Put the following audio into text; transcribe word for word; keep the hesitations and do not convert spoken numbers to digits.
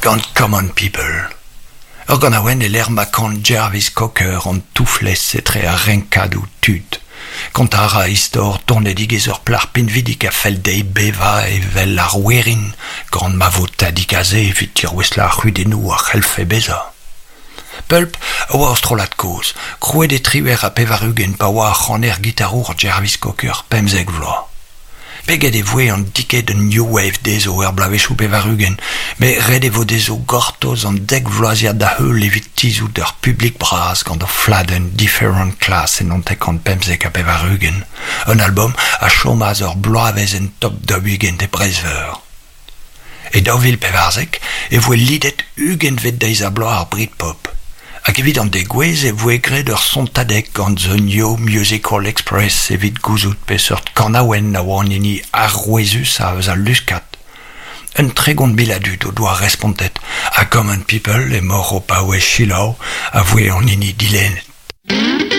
Gant Common People. Ur ganaouenn e lec'h ma kan Jarvis Cocker an touflez etre ar renkadoù tud. Kontañ a ra istor donedigezh ur plac'h pinvidik a fell dezhi bevañ evel ar werin gant ma vo tadig aze evit dirouestlañ ar c'hudennoù a c'hellfe bezañ. Pulp a oa ur strollad kozh, krouet e triwec'h ha pevar-ugent pa oa ar c'haner gitarour Jarvis Cocker pemzek vloaz. Peget e voe an tiked New Wave dezho er bloavezhioù pevar-ugent, met ret e vo dezho gortoz an dek vloaziad da heul evit tizhout ur publik bras gant o fladenn Different Class e naontek pemzek ha pevar-ugent. Un album a chomas ur bloavezh en top daou-ugent e Breizh-Veur. E daou vil pevarzek e voe lidet ugentvet deiz-ha-bloaz ar Britpop. Hag evit an degouezh e voe graet ur sontadeg gant The New Musical Express evit gouzout peseurt kanaouenn a oa an hini arouezusañ eus al luskad. Un tregont mil a dud o doa respontet ha Common People emaoc'h o paouez selaou a voe an hini dilennet.